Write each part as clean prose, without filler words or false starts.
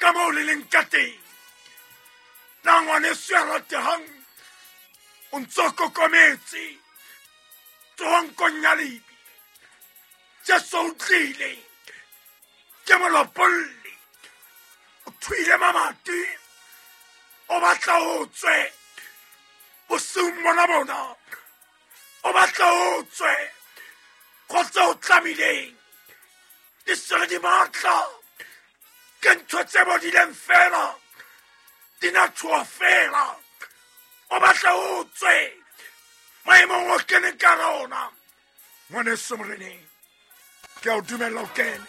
Ka moo le leng ka teng. Na ngwaneso ya ratehang o ntso kokometse tsoankong ya lebe. Jesu o tlile ke molopolli, o thuile mamati, o batla o tswe bosiung bona bona, o batla o tswe go tse o tlamileng di sere di matla, ke ntho tse bodileng fela di nathoa fela. O batla o tswe maemong o keneng ka rona. Ngwaneso moreneng, ke a o dumella o kene,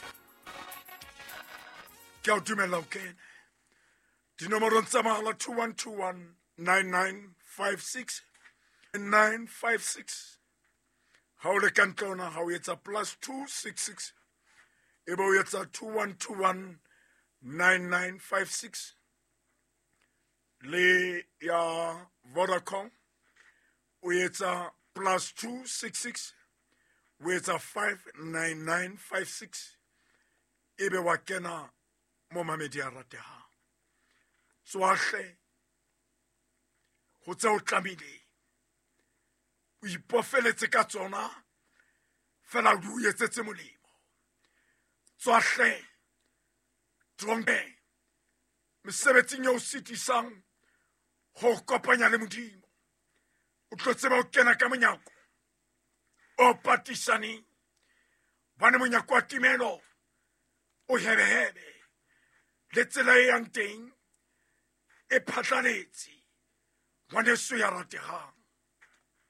ke a o dumella o kene dinomorong tsa mahala 2121 9956 956. Ha o le ka ntle ona, ha o etsa plus 266, e be o etsa 2121 9956. Le ya Vodacom o etsa plus 266, o etsa 59956, ebe wa kena mo mamedi a ratehang. Tswahle go tse o tlamileng o ipofeletse ka tsona fela o di o etsetse molemo. Tswahle tronke mesebetsing e o sitisang go kopanya le Modimo, o tlo tseba o kena ka monyako o patisaneng, bane monyako wa timelo o hebehebe, le tsela e yang teng e phatlaletse. Ngwaneso ya rategang,